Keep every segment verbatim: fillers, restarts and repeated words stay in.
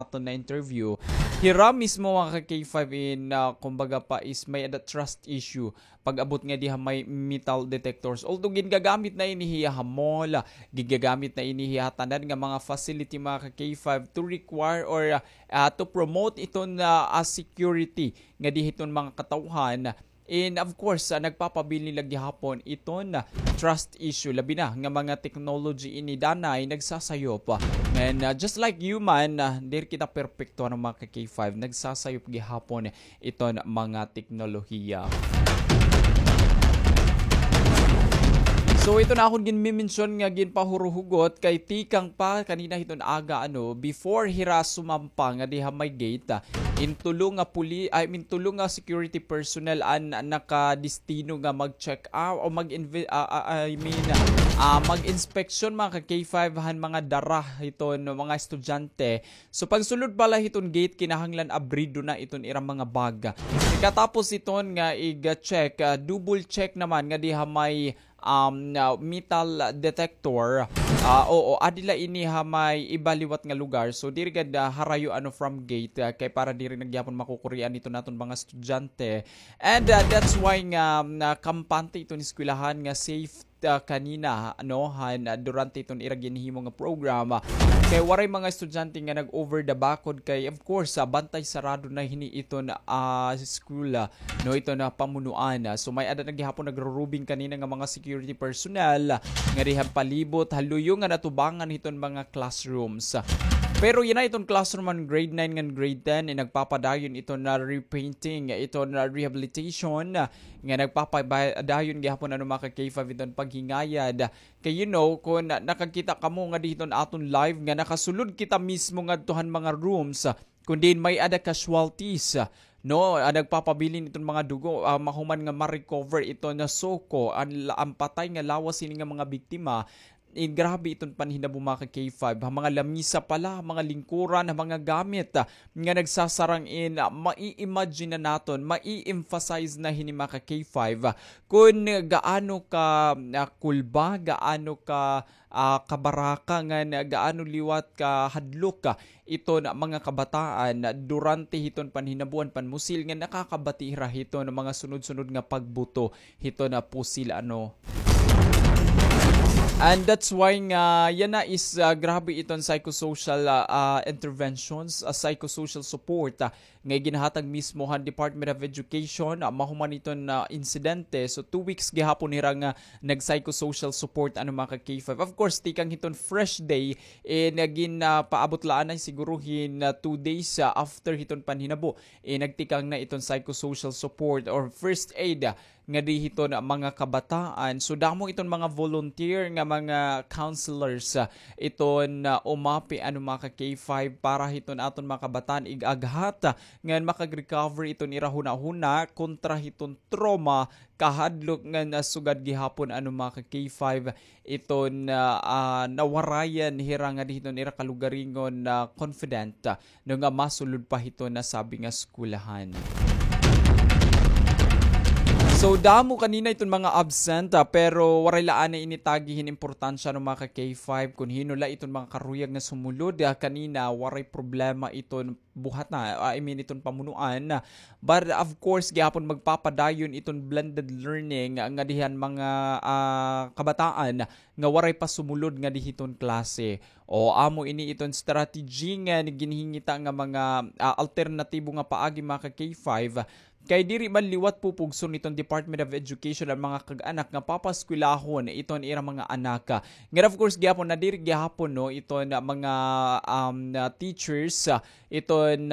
aton na-interview, hira mismo, mga ka-K five, in, ah, kumbaga pa is may-ada trust issue pag-abot ngadi ha may metal detectors. Although gingagamit na ini hiya ha mall, gingagamit na ini hiya ha tanan nga mga facility, mga ka-K five, to require or, ah, to promote iton, ah, ah, security ngadi hiton mga katawhan. And of course, ah, nagpapabilin la gihapon iton, ah, trust issue, labi na nga mga technology ini danay nagsasayop. And, ah, just like human, ah, diri kita perpekto, ano, mga ka-K five, nagsasayop gihapon iton mga teknolohiya. So, ito na akon ginmi-mention nga ginpahuruhugot kay tikang pa kanina hiton aga, ano, before hira sumampa ngadi ha may gate, ah, in tulo nga puli-, I mean, tulo nga security personnel an nakadestino nga mag-check out o mag-inve-, ah, ah, I mean, ah, mag-inspection, mga ka-K five, han mga dara hiton mga estudyante. So, pagsulod pa la hiton gate, kinahanglan abrido na iton ira mga bag. Pagkatapos hiton nga ig-check, ah, double check naman ngadi ha may, um, ah, metal detector. Ah, oo, adi la ini ha may iba liwat nga lugar. So, diri gad, ah, harayo, ano, from gate, ah, kay para diri na gihapon makukurian iton aton mga estudyante. And, ah, that's why nga, um, ah, kampante iton eskwelahan nga safe, ah, kanina, ano, han, ah, durante iton ira ginhimo nga program. Kay waray mga estudyante nga nag-over the bakod kay, of course, ah, bantay sarado na hini iton, ah, school, ah, no, iton, ah, pamunuan. Ah, so may-ada na gihapon nagrurubing kanina nga mga security personnel, ah, ngadi han palibot, ha luyo nga natubangan hiton mga classrooms. Pero yana iton classroom han grade nine ngan grade ten, eh, nagpapadayon iton na repainting, iton na rehabilitation, ah, nga nagpapadayon gihapon, ano, mga ka-K five, iton paghingayad. Kay, you know, kon nakakita kamo ngadi hiton aton live nga nakasulod kita mismo ngadto han mga rooms, ah, kon diin may-ada casualties, ah, no, ah, nagpapabilin iton mga dugo, ah, mahuman nga ma-recover iton na suko, an la-, an patay nga lawas hini nga mga biktima. Eh, grabe iton panhinabo, mga ka-K five. Ha mga lamisa pa la, ha mga lingkuran, ha mga gamit, ah, nga nagsasarang-in, ah, mai-imagine na naton, mai-emphasize na hini, mga ka-K five, ah, kon gaano ka, ah, kulba, gaano ka, ah, kabaraka, ngan gaano liwat kahadlok, ah, iton mga kabataan durante hiton panhinabo han panmusil nga nakakabati hira hiton mga sunod-sunod nga pagbuto hiton pusil, ano. And that's why nga yana is, ah, grabe iton psychosocial, ah, ah, interventions, ah, psychosocial support, ah, nga ginhatag mismo han Department of Education, ah, mahuman hiton, ah, insidente. So, two weeks gihapon hira nga nag-psychosocial support, ano, mga ka-K five. Of course, tikang hiton fresh day, eh, nga gin, ah, paabot la anay siguro hin, ah, two days, ah, after hiton panhinabo, eh, nagtikang na iton psychosocial support or first aid, ah, ngadi hiton mga kabataan. So, damo iton mga volunteer nga mga counselors, ah, iton, ah, umapi, ano, mga ka-K five, para hiton aton mga kabataan ig-aghat, ah, ngan makag-recover iton ira hunahuna kontra hiton trauma, kahadlok ngan, ah, sugad gihapon, ano, mga ka-K five, iton, ah, ah, nawarayan hira ngadi hiton ira kalugaringon, ah, confident, ah, no, nga masulod pa hiton nasabi nga eskwelahan. So, damo kanina iton mga absent, ah, pero waray la anay ini tagi hin importansya, no, mga ka-K five, kon hin-o la iton mga karuyag nga sumulod, ah, kanina waray problema iton buhat na, ah, I mean, iton pamunuan. But of course, gihapon magpapadayon iton blended learning ngadi han mga, ah, kabataan nga waray pa sumulod ngadi hiton klase. O, amo ini iton strategy nga ginhingita nga mga, ah, alternatibo nga paagi, mga ka-K five. Kay diri man liwat pupugson iton Department of Education an mga kag-anak nga papaskwelahon iton ira mga anak. Ngan of course, gihapon, nadiri gihapon, no, iton mga, um, teachers, ah, iton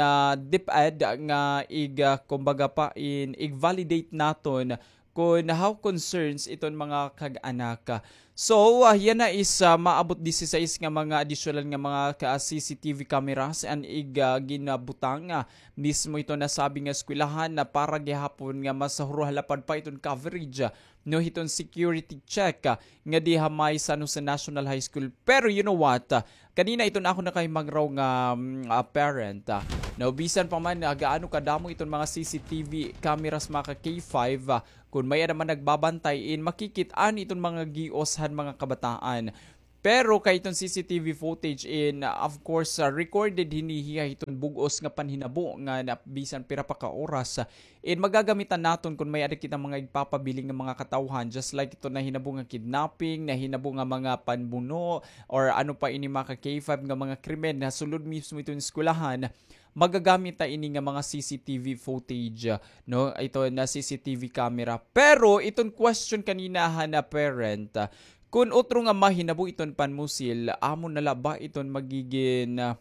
DepEd nga ig-, ah, kumbaga pa, in, ig-validate naton kon how concerns iton mga kag-anak. So, ah, yana is, ah, maabot disisais nga mga adisyonal nga mga ka-, C C T V cameras an ig-, ah, ginabutang, ah, mismo iton nasabi nga eskwelahan na para gihapon nga mas huruhalapad pa iton coverage, ah, no, hiton security check, ah, ngadi ha may San Jose National High School. Pero you know what? Ah, kanina iton akon nakahimangraw nga, mm, ah, parent, ah, no, bisan pa man, ah, gaano kadamo iton mga C C T V cameras, mga ka-K five, ah, kon may-ada man nagbabantay in makikit-an iton mga gios han mga kabataan. Pero kay iton C C T V footage in, uh, of course, uh, recorded hini hiya hiton bug-os nga panhinabo nga na, bisan pira pa ka oras, uh, in magagamitan naton kon may-ada kita mga igpapabilin nga mga katawhan, just like iton nahinabo nga kidnapping, nahinabo nga mga panbuno, or ano pa ini, mga ka-K five, nga mga krimen na sulod mismo iton eskwelahan, magagamit ta ini nga mga C C T V footage, uh, no? Ito na C C T V camera. Pero iton question kanina han, uh, parent, uh, kun utro nga mahinabo iton panmusil, amo na la ba iton magigin, uh,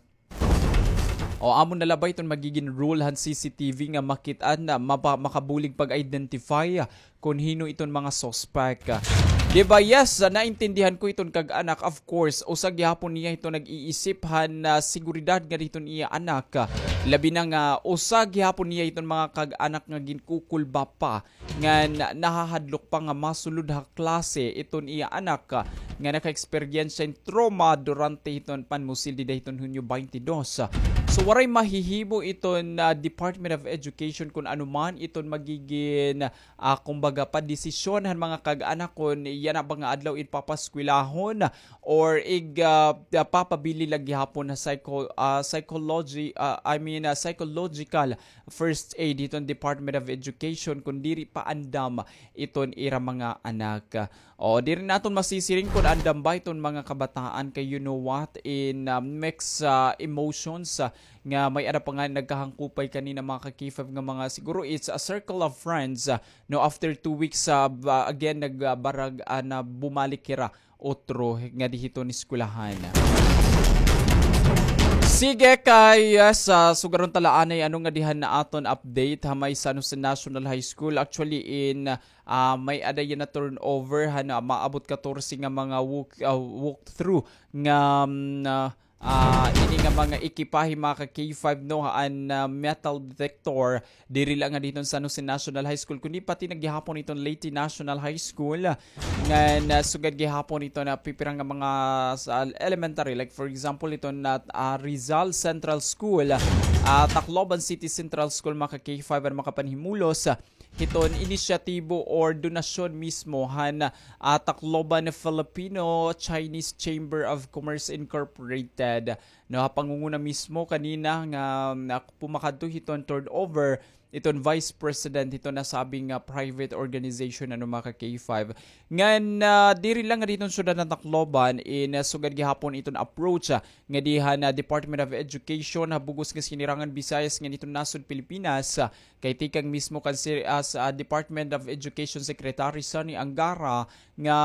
o amo na la ba iton magigin rule han C C T V nga makit-an na mapa-, makabulig pag-identify, uh, kun hin-o iton mga suspect. Di ba, yes, ah, naintindihan ko iton kag-anak. Of course, usa gihapon niya iton nag-iisip han, ah, seguridad nga diton iya anak. Labi na nga, usa gihapon niya iton mga kag-anak nga ginkukulba pa ngan nahahadlok pa nga masulod ha klase iton iya anak, ah, nga naka-eksperyensya hin trauma durante hiton panmusil dida hiton Hunyo twenty-two. So, waray mahihimo iton, ah, Department of Education kun ano man iton magigin ah, kumbaga, padesisyon han mga kag-anak kon yana ba nga adlaw in papaskwelahon or ig, ah, ah, papabili la gihapon ha psycho-, ah, psychology, ah, I mean, ah, psychological first aid hiton Department of Education kon diri pa andam iton ira mga anak. O, diri naton masisiring kon andam ba iton mga kabataan kay you know what, in, ah, mixed, ah, emotions, ah, nga may-ada pa nga nagkahangkupay kanina, mga ka-K five, nga mga siguro it's a circle of friends, ah, no, after two weeks, ah, ba-, again, nagbarag-, ah, na bumalik hira utro ngadi hiton eskwelahan. Sige, kay, ah, sa sugaron ta la anay, ano ngadi han aton update ha may San Jose National High School. Actually, in, ah, may-ada yana turnover han, ah, maabot katorse nga mga walk, ah, walkthrough nga, mm, ah, ah, ini nga mga ekipahe, mga ka-K five, no, an, ah, metal detector, diri la ngadi hiton San Jose National High School, kundi pati na gihapon hiton Leyte National High School, ngan, ah, sugad gihapon hiton pipira nga mga sa elementary, like for example, hiton, ah, Rizal Central School, ah, Tacloban City Central School, mga ka-K five, an makapanhimulos, ah, hiton inisyatibo or donasyon mismo han, ah, Tacloban Filipino Chinese Chamber of Commerce Incorporated. No, ha pangunguna mismo kanina nga, nga pumakadto hiton turnover, iton vice president hiton nasabing nga private organization, ano, mga ka-K five. Ngan, ah, diri la ngadi hiton syudad han Tacloban, in, ah, sugad gihapon iton approach, ah, ngadi han, ah, Department of Education ha bug-os nga sinirangan Visayas ngan iton nasod Pilipinas, ah, kay tikang mismo kan si-, ah, sa Department of Education Secretary Sonny Angara nga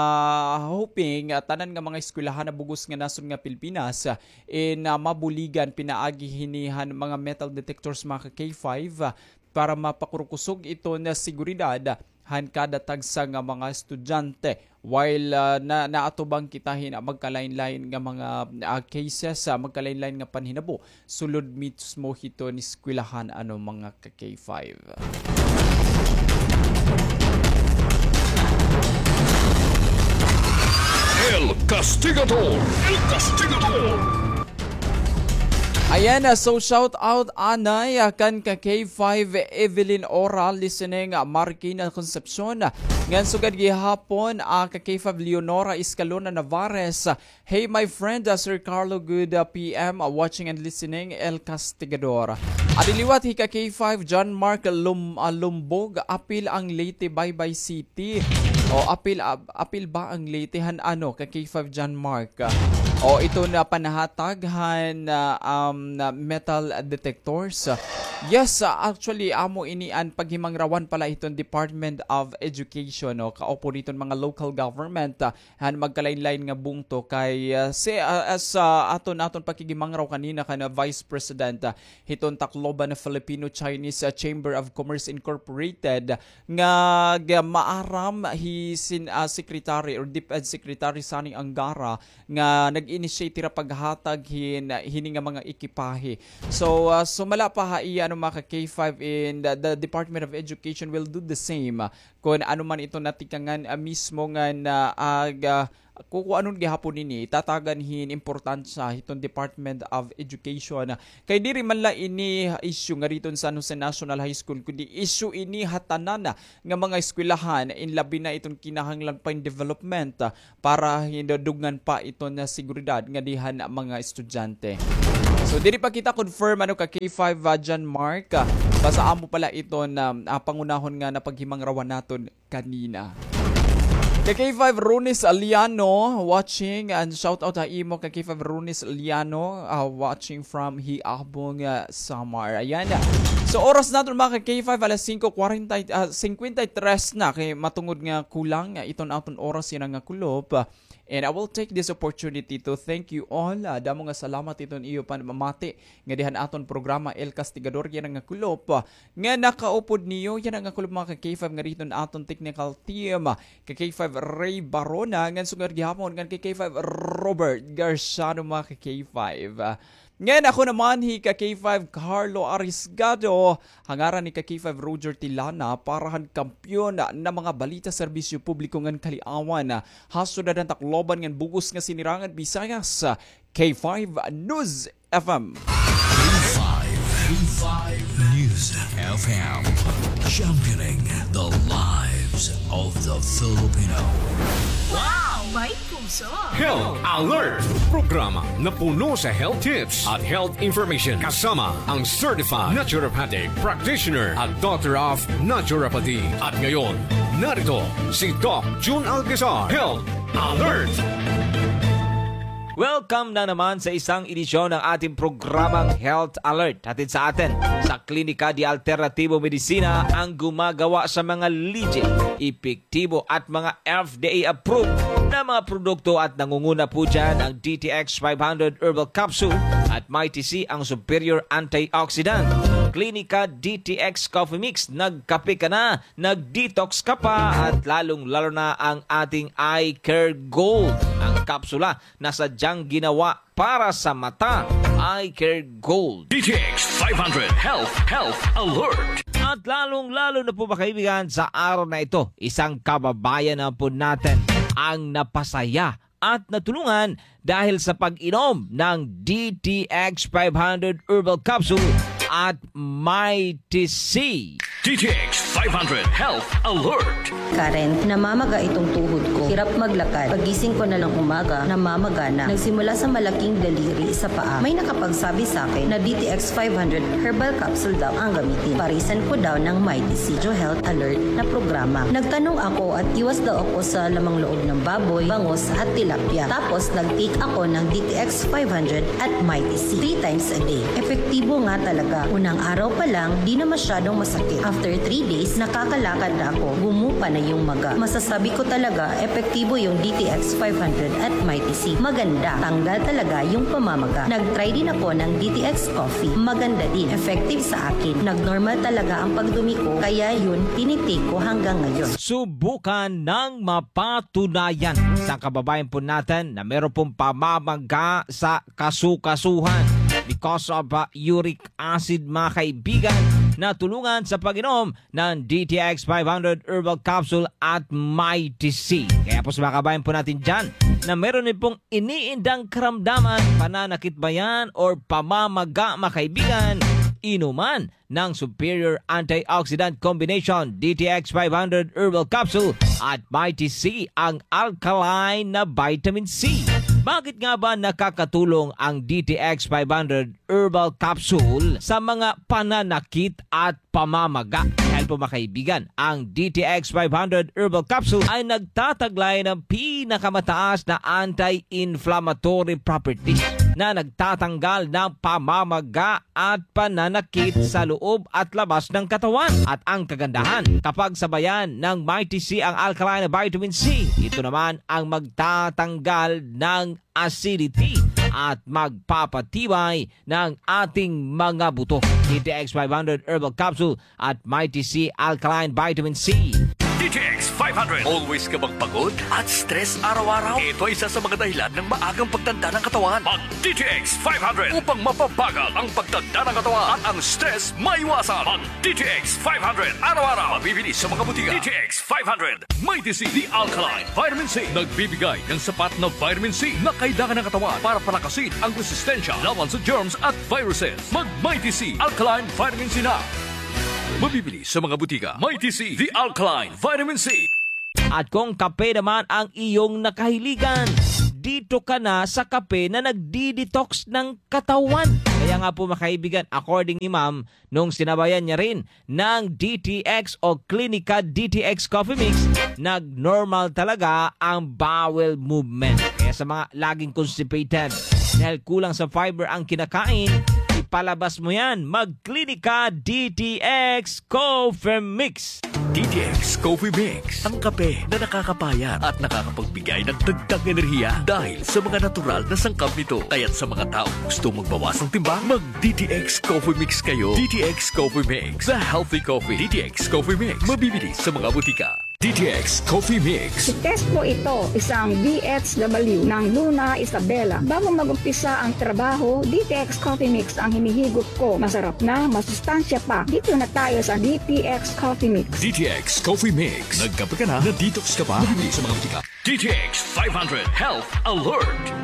hoping, ah, tanan nga mga eskwelahan ha bug-os nga nasod nga Pilipinas, ah, in, ah, mabuligan pinaagi hini han mga metal detectors, mga ka-K five, ah, para mapakurkusog iton seguridad han kada tagsa nga mga estudyante. While, ah, na, naatubang kita hin magkalain-lain nga mga, ah, cases, ah, magkalain-lain nga panhinabo sulod mismo hiton eskwelahan, ano, mga ka-K five. El Castigador! El Castigador! Ayan, ah, so shout out anay, ah, kan ka-K five Evelyn Ora, listening, ah, Marikina Concepcion, ah, ngan sugad gihapon, ah, ka-K five Leonora Escalona Navarez, ah, hey, my friend, ah, Sir Carlo, good, ah, P M, ah, watching and listening, El Castigador. Adi liwat hi ka-K five John Mark Lum-, ah, Lumbog, apil ang Leyte, Baybay City. O, apil, ah, apil ba ang Leyte han ano, ka-K five John Mark? O, ito na panhatag han, ah, um, na metal detectors. Yes, ah, actually, amo ini an paghimangrawan pala hiton Department of Education, no? Kaupo hiton mga local government, ah, han magkalain-lain nga bungto kay, ah, si, ah, as, ah, aton, aton pakigimangraw kanina kan, ah, Vice President, ah, hiton Tacloban Filipino Chinese, ah, Chamber of Commerce Incorporated, nga, nga maaram hi sin-, ah, Secretary or DepEd Secretary Sonny Angara nga nag-initiate hira paghatag hin-, hini nga mga ekipahe. So, ah, sumala pa ha iya, ano, mga ka-K five, in the, the Department of Education will do the same, ah, kon ano man ito natikangan, ah, mismo nga na, ah, ga-, kukuanon gihapon ini, tatagan hin importansya hiton Department of Education. Kay diri man la ini issue ngari hiton San Jose National High School, kundi issue ini ha tanan nga mga eskwelahan, in labi na iton kinahanglan pa hin development, ah, para hindudungan pa iton seguridad ngadi han mga estudyante. So, diri pa kita confirm, ano, ka K five, ah, John Mark, ah, basta amo pala iton, ah, ah, pangunahon nga napaghimangrawan naton kanina. Ka K five Ronis Aliano watching, and shout out ha imo ka K five Ronis Aliano, ah, watching from Hiabong, ah, Samar. Ayan. So, oras naton, mga ka K five, alas singko kwarenta, ah, singkwenta y tres na, kay matungod nga kulang, ah, iton aton oras yana nga kulop. And I will take this opportunity to thank you all. Ah, damo nga salamat iton iyo panamamati ngadi han aton programa El Castigador yana nga kulop, ah, nga nakaupod niyo yana nga kulop, mga ka K five, ngari hiton aton technical team, ah, ka K five Ray Barona, ngan sugad gihapon ngan ka K five Robert Garciano, mga ka K five. Ah, ngan ako naman hi ka K five Carlo Arisgado, ha ngaran ni ka K five Roger Tilana, para han kampiyon na mga balita, serbisyo publiko ngan kaliawan, ah, ha syudad han Tacloban ngan bug-os nga sinirangan Visayas, ah, K five News F M. K five, K five News F M, championing the lives of the Filipino. Wow! May puso! Health Alert! Programa na puno sa health tips at health information, kasama ang certified naturopathic practitioner at doctor of naturopathy. At ngayon, narito si Doc Jun Alcazar. Health Alert! Welcome na naman sa isang edisyon ng ating programang Health Alert. Hatid sa atin sa Klinika de Alternativo Medicina, ang gumagawa sa mga legit, epektibo at mga F D A approved na mga produkto, at nangunguna po dyan ang D T X five hundred Herbal Capsule at Mighty C, ang superior antioxidant. Klinika D T X Coffee Mix, nagkape ka na, nag-detox ka pa, at lalong-lalo na ang ating Eye Care Gold, ang kapsula na sadyang ginawa para sa mata. Eye Care Gold. D T X five hundred Health, Health Alert. At lalong-lalo na po, mga kaibigan, sa araw na ito, isang kababayan na po natin ang napasaya at natulungan dahil sa pag-inom ng D T X five hundred Herbal Capsule at Mighty C. D T X five hundred Health Alert. Karen, namamaga itong tuhod ko. Hirap maglakad. Pagising ko na ng umaga, namamaga na. Nagsimula sa malaking daliri sa paa. May nakapagsabi sa akin na D T X five hundred Herbal Capsule daw ang gamitin. Parisan ko daw ng Mighty C, Health Alert na programa. Nagtanong ako at iwas daw ako sa lamang loob ng baboy, bangus at tilapia. Tapos nag-take ako ng D T X five hundred at Mighty C three times a day. Epektibo nga talaga. Unang araw pa lang, di na masyadong masakit. After three days, nakakalakad na ako. Gumupa na yung maga. Masasabi ko talaga, epektibo yung D T X five hundred at Mighty C. Maganda. Tanggal talaga yung pamamaga. Nag-try din ako ng D T X Coffee. Maganda din. Effective sa akin. Nag-normal talaga ang pagdumi ko, kaya yun, tinitake ko hanggang ngayon. Subukan ng mapatunayan. Isang kababayan po natin na meron pong pamamaga sa kasukasuhan because of, uh, uric acid, mga kaibigan, natulungan sa pag-inom ng D T X five hundred Herbal Capsule at Mighty C. Kaya po sa mga kababayan po natin dyan na meron din pong iniindang karamdaman, pananakit ba yan or pamamaga, mga kaibigan, inuman ng Superior Antioxidant Combination, D T X five hundred Herbal Capsule at Mighty C, ang alkaline na vitamin C. Bakit nga ba nakakatulong ang D T X five hundred Herbal Capsule sa mga pananakit at pamamaga? Dahil po, mga kaibigan, ang D T X five hundred Herbal Capsule ay nagtataglay ng pinakamataas na anti-inflammatory properties na nagtatanggal ng pamamaga at pananakit sa loob at labas ng katawan. At ang kagandahan, kapag sabayan ng Mighty C ang alkaline na vitamin C, ito naman ang magtatanggal ng acidity at magpapatibay ng ating mga buto. D T X five hundred Herbal Capsule at Mighty C Alkaline Vitamin C. D T X five hundred. Always ka bang pagod at stress araw-araw? Ito ay isa sa mga dahilan ng maagang pagtanda ng katawan. Mag D T X five hundred upang mapabagal ang pagtanda ng katawan at ang stress maiwasan. Mag D T X five hundred araw-araw. Mabibili sa mga butika. D T X five hundred. Mighty C, the alkaline vitamin C. Nagbibigay ng sapat na vitamin C na kailangan ng katawan para palakasin ang resistensya laban sa germs at viruses. Mag Mighty C, alkaline vitamin C na. Mabibili sa mga butika. Mighty C, the alkaline vitamin C. At kung kape naman ang iyong nakahiligan, dito ka na sa kape na nagdi-detox ng katawan. Kaya nga po, mga kaibigan, according ni Ma'am, nung sinabayan niya rin ng D T X o Clinica D T X Coffee Mix, nag-normal talaga ang bowel movement. Kaya sa mga laging constipated, dahil kulang sa fiber ang kinakain, ipalabas mo yan. Mag-Clinica D T X Coffee Mix. D T X Coffee Mix, ang kape na nakakapayat at nakakapagbigay ng dagdag enerhiya dahil sa mga natural na sangkap nito. Kaya't sa mga taong gusto magbawas ng timbang, mag D T X Coffee Mix kayo. D T X Coffee Mix, the healthy coffee. D T X Coffee Mix, mabibili sa mga butika. D T X Coffee Mix. Si Test po ito, isang D H W ng Luna Isabela. Bago mag-umpisa ang trabaho, D T X Coffee Mix ang hinihigop ko. Masarap na, masustansya pa. Dito na tayo sa D T X Coffee Mix. D T X Coffee Mix. Nagkape ka na, na-detox ka pa. Mabibili sa mga butika. D T X five hundred Health Alert.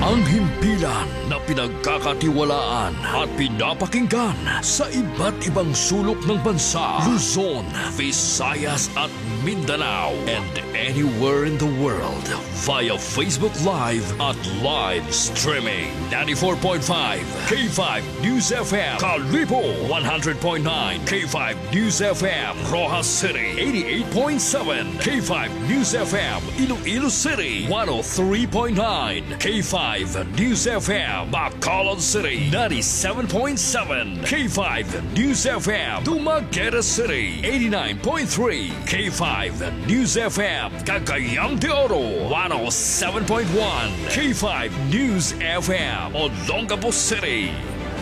Ang himpilan na pinagkakatiwalaan at pinapakinggan sa iba't ibang sulok ng bansa, Luzon, Visayas at Mindanao, and anywhere in the world via Facebook Live at live streaming. Ninety-four point five K five News F M, Kalibo, one hundred point nine K five News F M, Roxas City, eighty-eight point seven K five News F M, Iloilo City, one oh three point nine K five News F M, Bacolod City, ninety-seven point seven K five News F M, Dumaguete City, eighty-nine point three K five News F M, Cagayan de Oro, one oh seven point one K five News F M, Olongapo City.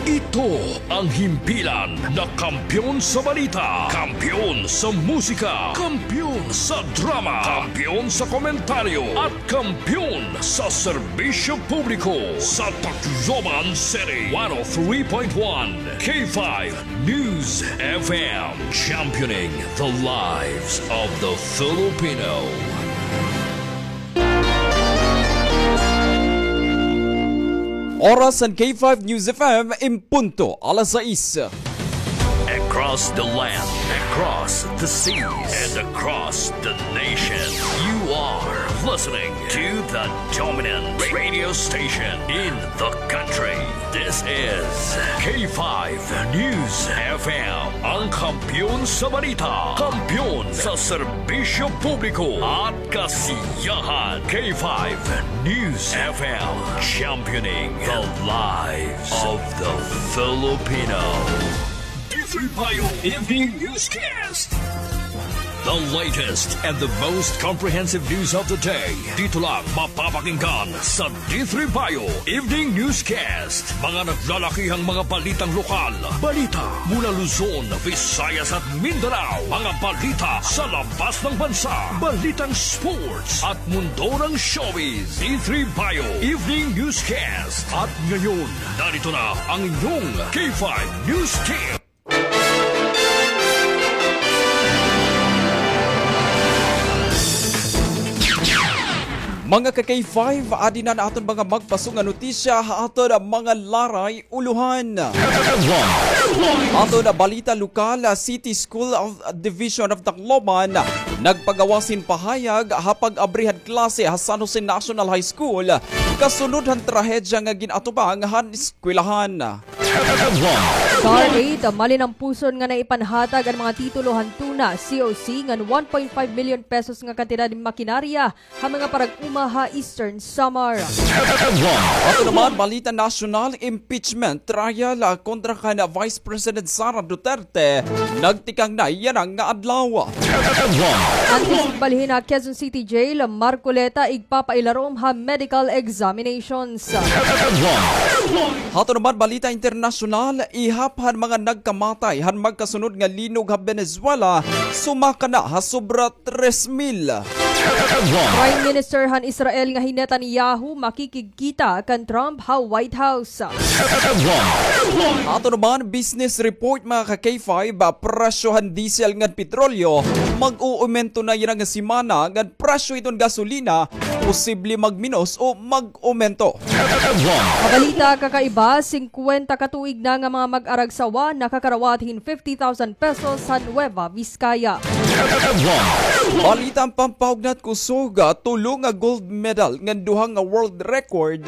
Ito ang himpilan na kampiyon sa balita, kampiyon sa musika, kampiyon sa drama, kampiyon sa komentaryo, at kampiyon sa serbisyo publiko sa Tacloban City. One oh three point one K five News F M, championing the lives of the Filipino. Oras han K five News F M, en punto alas sais. Across the land, across the seas, and across the nation, you are listening to the dominant radio station in the country. This is K five News F M, ang kampiyon sa balita, kampiyon sa serbisyo publiko at kasiyahan. K five News F M, championing the lives of the Filipino. D three Bio Evening Newscast. The latest and the most comprehensive news of the day. Dito lang mapapakinggan sa D three Bio Evening Newscast. Mga naglalakihang mga balitang lokal. Balita mula Luzon, Visayas at Mindanao. Mga balita sa labas ng bansa. Balitang sports at mundo ng showbiz. D three Bio Evening Newscast. At ngayon, narito na ang inyong K five News Tip. Mga ka-K five, adi na an aton mga magpaso nga notisya ha aton mga laray ulohan. Aton balita lokal, City School of Division of Tacloban nagpagawas hin pahayag ha pag-abri han klase ha San Jose National High School kasunod han trahedya nga gin-atubang han eskwelahan. Star eight, malinampuson nga naipanhatag an mga titulo han TUNA C O C ngan one point five million pesos nga kantidad hin makinarya ha mga parag-uma ha Eastern Samar. Ato naman, balita nasyonal, impeachment trial, ah, kontra kan Vice President Sara Duterte nagtikang na yana nga adlaw. An isip balhin ha Quezon City Jail, Marcoleta, igpapailarom ha medical examinations. Ato naman, balita internasyonal, ihap han mga nagkamatay han magkasunod nga linog ha Venezuela, sumaka na ha sobra tres mil. Prime Minister han Israel nga hi Netanyahu makikigkita kan Trump ha White House. Ato naman business report, mga ka K five, presyo han diesel ngan petrolyo mag-uumento na yana nga semana, ngan presyo hiton gasolina posible magminos o mag-umento. Mabalita, kakaiba, singkwenta ka tuig na nga mga mag-aragsawa nakakarawat hin fifty thousand pesos sa Nueva Vizcaya. Balita an pampahugnat kusog, tulo nga gold medal ngan duha nga world record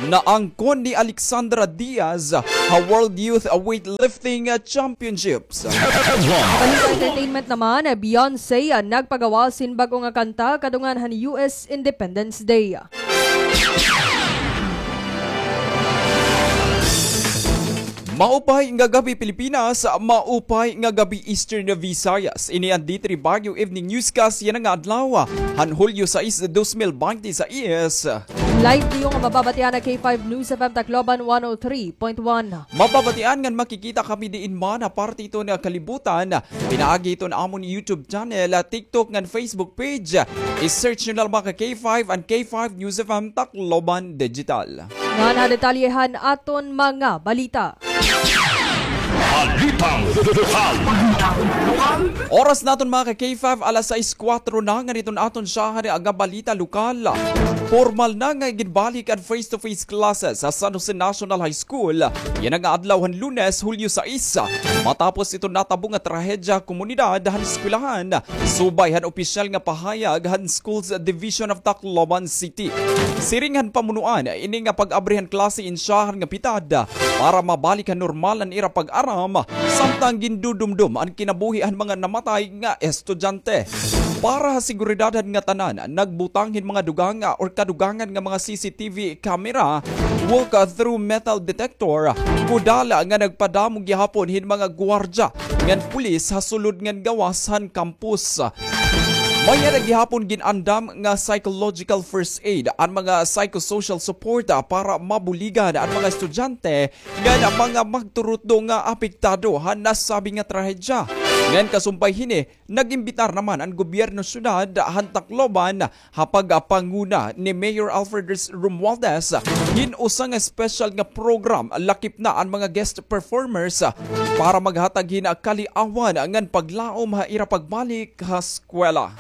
naangkon ni Alexandra Diaz ha World Youth Weightlifting Championships. Balita entertainment naman, Beyonce nagpagawas hin bag-o nga kanta kadungan han U S Independence Day. Maupay nga gab-i, Pilipinas. Maupay nga gab-i, Eastern Visayas. Ini an D three Baguio Evening Newscast yana nga adlaw han Hulyo sais, dos mil bente sais. Live niyo nga mababatian ha K five News F M Tacloban one oh three point one. Mababatian ngan makikita kami diin man ha parte hiton kalibutan pinaagi hiton amon YouTube channel, TikTok ngan Facebook page. I-search niyo la, mga ka K five, an K five News F M Tacloban Digital. Ngan ha detalye han aton mga balita. Balitang lokal. Oras naton, mga ka K five, alas sais kuwatro na ngan hiton aton syahan nga balita lokal. Pormal na nga iginbalik an face-to-face classes ha San Jose National High School yana nga adlaw han Lunes, Hulyo sais, matapos hiton natabo nga trahedya komunidad han eskwelahan subay han opisyal nga pahayag han Schools Division of Tacloban City. Siring han pamunuan, ini nga pag-abri han klase insyahan nga pitad para mabalik han normal an ira pag-aram, samtang gindudumdom an kinabuhi han mga namatay nga estudyante. Para ha seguridad han ngatanan, nagbutang hin mga dugang or kadugangan nga mga C C T V camera, walk-through metal detector, kudala nga nagpadamo gihapon hin mga guwardya ngan pulis ha sulod ngan gawas han campus. May-ada gihapon gin-andam nga psychological first aid, an mga psychosocial support, ah, para mabuligan an mga estudyante ngan mga magturutdo nga apektado han nasabi nga trahedya. Ngan kasumpay hini, nag-imbitar naman an gobyerno syudad han Tacloban ha pagpanguna ni Mayor Alfred Res-, Romualdez hin usa nga espesyal nga program, lakip na an mga guest performers, para maghatag hin kaliawan ngan paglaom ha ira pagbalik ha eskwela.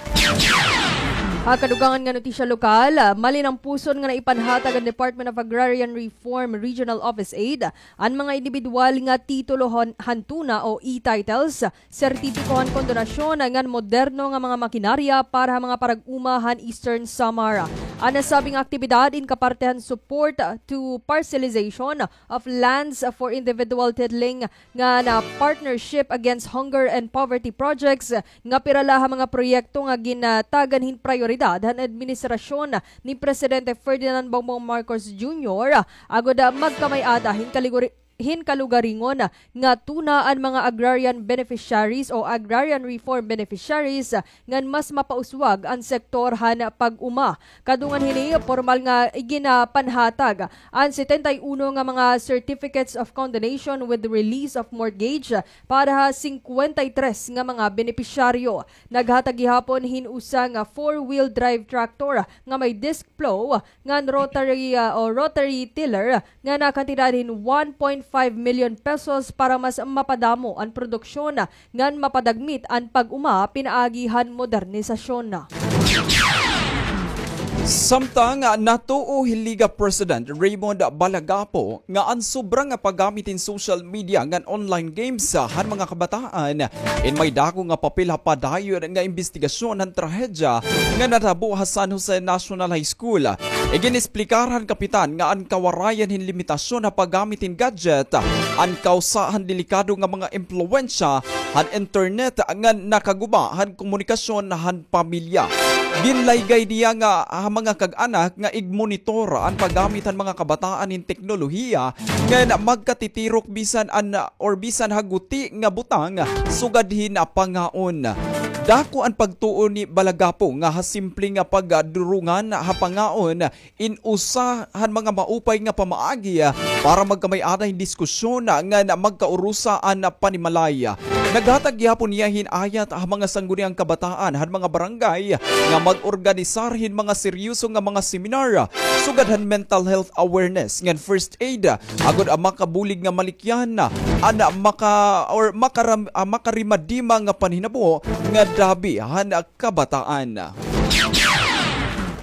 Ha kadugangan nga notisya lokal, malinampuson nga naipanhatag an Department of Agrarian Reform Regional Office Eight an mga indibidwal nga titulo han, han tuna o e-titles, sertipiko han kondonasyon ngan moderno nga mga makinarya para ha mga parag-uma han Eastern Samar. An nasabi nga aktibidad in kaparte han support to parcelization of lands for individual titling ngan Partnership Against Hunger and Poverty projects, nga pira la ha mga proyekto nga gintagan hin prayoridad han administrasyon ni Presidente Ferdinand Bongbong Marcos Junior, agod magkamay-ada hin kaliguri-, hin kalugaringon nga tuna an mga agrarian beneficiaries o agrarian reform beneficiaries, ngan mas mapauswag an sektor han pag-uma. Kadungan hini, pormal nga iginapanhatag an setenta y uno nga mga certificates of condonation with release of mortgage para ha singkwenta y tres nga mga benepisyaryo. Naghatag gihapon hin usa nga four-wheel drive tractor nga may disc plow ngan rotary, ah, o rotary tiller nga nakantidad hin one point five million pesos para mas mapadamo an produksyon ngan mapadagmit an pag-uma pinaagi han modernisasyon. Samtang, ah, natuo hi Liga President Raymond Balagapo nga an sobra nga paggamit hin social media ngan online games, ah, han mga kabataan in may dako nga papel ha padayon nga imbestigasyon han trahedya nga natabo ha San Jose National High School. Igin-esplikar han kapitan nga an kawarayan hin limitasyon ha paggamit hin gadget an kawsa han delikado nga mga impluwensya han internet ngan nakaguba han komunikasyon han pamilya. Ginlaygay niya nga ha mga kag-anak nga igmonitor an paggamit han mga kabataan hin teknolohiya ngan magkatitirok bisan an or bisan ha guti nga butang sugad hin pangaon. Dako an pagtuo ni Balagapo nga ha simple nga pagdurungan ha pangaon in usa han mga maupay nga pamaagi para magkamay-ada hin diskusyon ngan magkaurusa an panimalay. Naghatag gihapon niya hin ayat ha mga sangguniang kabataan han mga barangay nga mag-organisar hin mga seryoso nga mga seminar sugad han mental health awareness ngan first aid, agod an makabulig nga malikyan an maka-, or makaram-, ah, makarimadima nga panhinabo nga dabi han kabataan.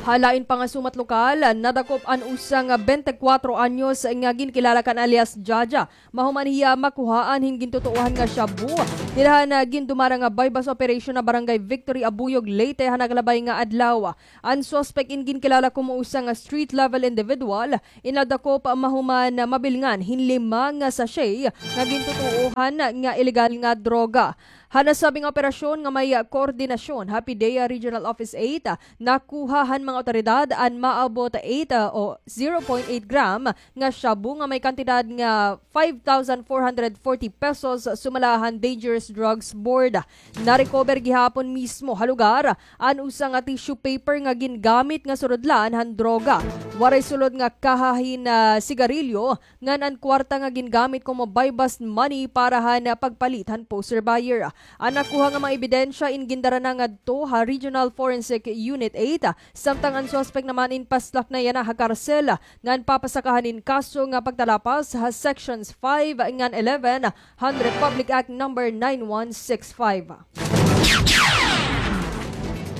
Ha lain pa nga sumat lokal, nadakop an usa nga bente kuwatro anyos nga ginkilala kan alias Jaja mahuman hiya makuhaan hin gintutuohan nga shabu dida han gindumara nga buy-bust operation ha Barangay Victory, Abuyog, Leyte, ha nakalabay nga adlaw. An suspek in ginkilala komo usa nga street-level individual in nadakop mahuman mabilngan hin lima nga sachet nga gintutuohan nga ilegal nga droga. Ha nasabi nga operasyon nga may koordinasyon ha PDEA Regional Office eight, nakuha han mga awtoridad an maabot eight, ah, o zero point eight gram nga shabu nga may kantidad nga five thousand four hundred forty pesos sumala han Dangerous Drugs Board. Na-recover gihapon mismo ha lugar an usa nga tissue paper nga gingamit nga surudlan han droga. Waray sulod nga kaha hin, ah, sigarilyo ngan an kwarta nga gingamit komo buy-bust money para han, ah, pagpalit han poser buyer. An nakuha nga mga ebidensya in gindara na ngadto ha Regional Forensic Unit eight, samtang an suspek naman in paslak na yana ha karsel ngan papasakahan in kaso nga pagtalapas ha Sections five ngan eleven han Republic Act Number nine one six five.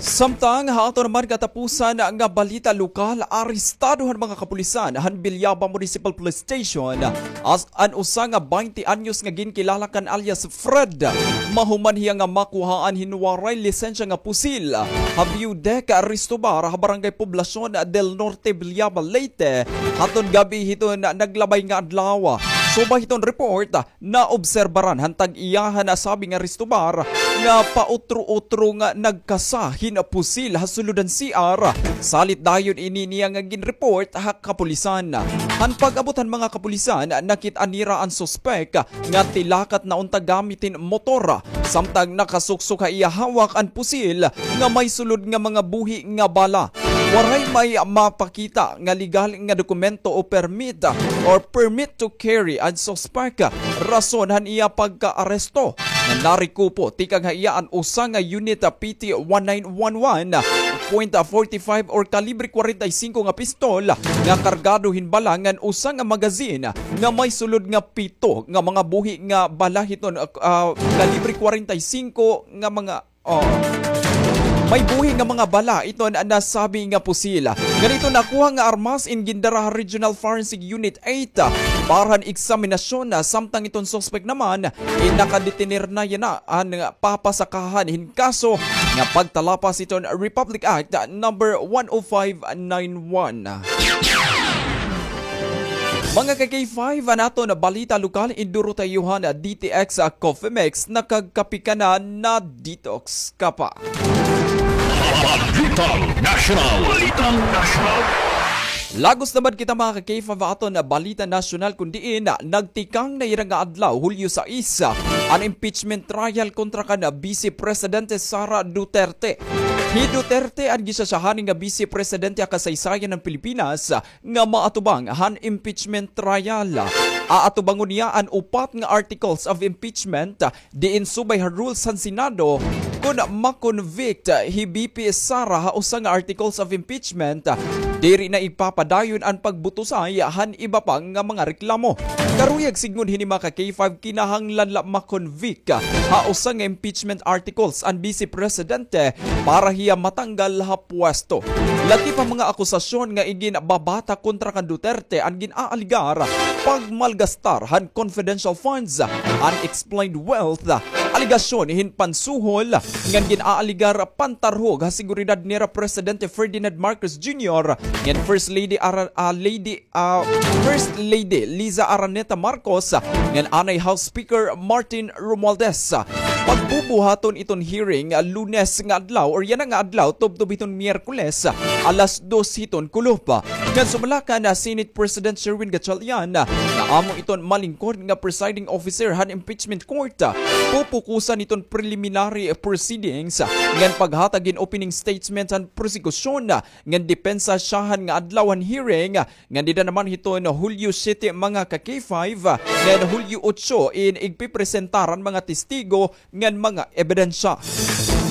Samtang ha aton naman katapusan nga balita lokal, arestado han mga kapulisan han Villaba Municipal Police Station as an usa nga baynte anyos nga ginkilala kan alias Fred. Mahuman hiya nga makuhaan hin waray lisensya nga pusil ha View Deck Resto Bar ha Barangay Poblacion del Norte, Villaba, Leyte, haton gab-i hiton naglabay nga adlaw. Subay hiton report, naobserbaran han tag-iya han nasabi nga resto bar nga pautro-utro nga nagkasa hin pusil ha sulod han C R. Salit dayon ini niya nga ginreport ha kapulisan. Han pag-abot han mga kapulisan, nakit-an nira an suspek nga tilakat na unta gamit hin motor, samtang nakasuksok ha iya hawak an pusil nga may sulod nga mga buhi nga bala. Waray may mapakita nga legal nga dokumento o permit or permit to carry an suspek, rason han iya pagkaaresto. Nga narekupo tikang ha iya an usa nga unit, ah, P T one nine one one point forty-five or kalibre kwarenta y singko nga pistol nga kargado hin bala ngan usa nga magazine nga may sulod nga pito nga mga buhi nga bala hiton, ah, ah, kalibre kwarenta y singko nga mga Oh. May buhi nga mga bala iton nasabi nga pusil. Ngan iton nakuha nga armas in gindara ha Regional Forensic Unit eight para han eksaminasyon, samtang iton suspek naman in nakadetener na yana an papasakahan hin kaso nga pagtalapas hiton Republic Act Number one oh five nine one. Mga ka-K five, an aton balita lokal, induro ta iyo han D T X Coffee Mix, nakagkape ka na, na-detox ka pa. Balitang Nasyonal. Balitang Nasyonal. Lagos naman kita, mga ka-K five, ha aton balita nasyonal, kun diin nagtikang na yana nga adlaw, Hulyo sais, an impeachment trial kontra kan Vice Presidente Sara Duterte. Hi Duterte an gisasyahan nga Vice Presidente ha kasaysayan han Pilipinas nga maatubang han impeachment trial. Aatubangon niya an upat nga articles of impeachment, diin subay ha rules han Senado, kon ma-convict hi V P Sara ha usa nga articles of impeachment, diri na igpapadayon an pagbutosay han iba pa nga mga reklamo. Karuyag sidngon hini, mga ka-K five, kinahanglan la ma-convict ha usa nga impeachment articles an Vice Presidente para hiya matanggal ha pwesto. Lakip ha mga akusasyon nga iginbabata kontra kan Duterte an gin-aalegar pagmalgastar han confidential funds, unexplained wealth, alegasyon hin pansuhol, ngan gin-aalegar pantarhog ha seguridad nira Presidente Ferdinand Marcos Junior ngan First Lady Ara-, ah, Lady ah, First Lady Liza Araneta Marcos, ngan anay House Speaker Martin Romualdez. Pagbubuhaton iton hearing, ah, Lunes nga adlaw, or yana nga adlaw, tubtob hiton Miyerkules, ah, alas dos hiton kulop. Ngan sumala kan Senate President Sherwin Gatchalian, ah, nga amo iton malingkod nga presiding officer han impeachment court, ah, pupo kusa niton preliminary proceedings ngan paghatag hin opening statement han prosekusyon ngan depensa siyahan nga adlaw han hearing ngan dida naman hiton Hulyo siyete, mga ka-K five, ngan Hulyo otso in igpipresentar an mga testigo ngan mga ebidensya.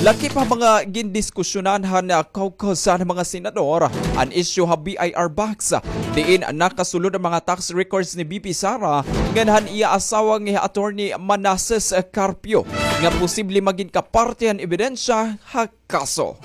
Lakip ha mga gindiskusyonan han caucus han mga senador an isyu ha B I R box, diin nakasulod an mga tax records ni V P Sara ngan han iya asawa nga hi Attorney Manases Carpio nga posible magin kaparte han ebidensya ha kaso.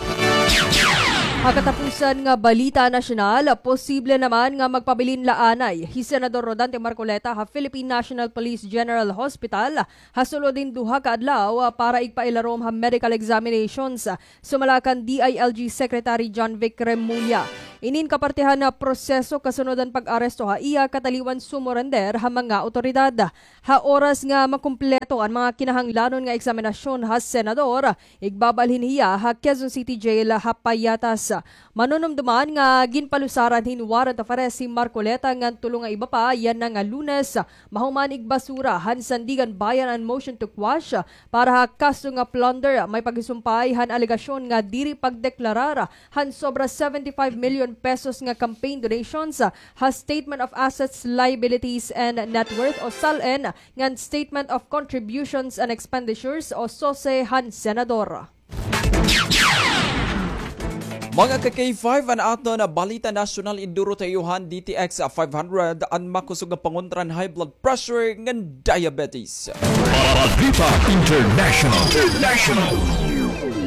Ha katapusan nga balita nasyonal, posible naman nga magpabilin la anay hi Senador Rodante Marcoleta ha Philippine National Police General Hospital ha sulod hin duha ka adlaw para igpailarom ha medical examinations, sumala kan D I L G Secretary John Vic Remulla. Inin kapartehan nga proseso kasunod han pag-aresto ha iya kataliwan sumurender ha mga awtoridad. Ha oras nga makumpleto an mga kinahanglanon nga eksaminasyon ha senador, igbabalhin hiya ha Quezon City Jail ha Payatas. Manunumduman nga ginpalusaran hin warrant of arrest hi Marcoleta ngan tulo nga iba pa yana nga Lunes, mahuman igbasura han Sandiganbayan an motion to quash para ha kaso nga plunder. May paghisumpay han alegasyon nga diri pagdeklarar han sobra seventy-five million pesos nga campaign donations ha Statement of Assets, Liabilities, and Net Worth o SALN ngan Statement of Contributions and Expenditures o SOSE han senador. Mga ka-K five, an aton balita nasyonal, iduro ta iyo han D T X five hundred, an makusog nga pangontra han high blood pressure ngan diabetes. Balita International. International.